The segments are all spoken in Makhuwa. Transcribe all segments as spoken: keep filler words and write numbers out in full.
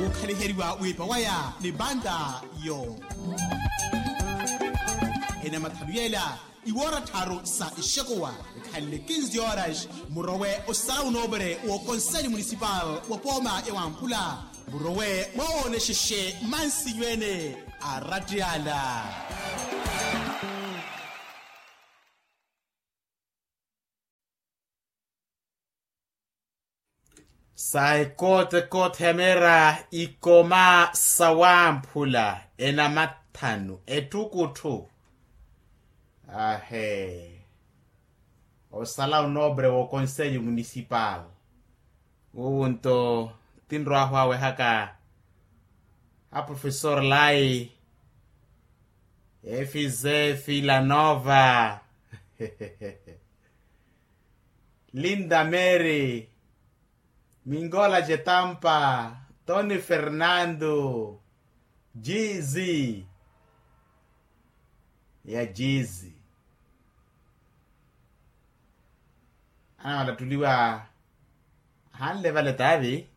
Okhaliheriwa wiipa waya ni banda yo. Enamathanu yela iwoora tharu sa ixekuwa, ekhanle kinzi horas murowe osala unoopere w'okonseli munisipal wa pooma ya wamphula, murowe mwawoonexexe mansinyu ene a ratiyala. Sa ekote ekote hemera ikoma sa wamphula enamathanu ettukutthu. Ahe. Osala onobre w'okonselho municipal, wuwunto tinrwahu awehaka a professor lai efise filanova, linda mary, mingola cetampa, tony fernando, jizi ya jizi. Anamalattuliwa hanle vale tavi.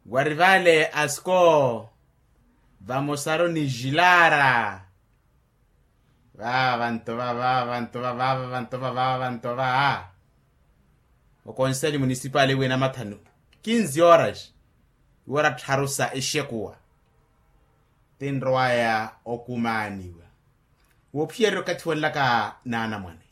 Wari vale asko vamosaru ni jilara. Vava vanto va vava vanto va vava vanto va vava vanto va. Okonseli munisipali wina mathanu kinzi horas, iwora tharu sa exekuwa tinrowaya okumaaniwa woophiyerya okathi wolelaka naanamwane.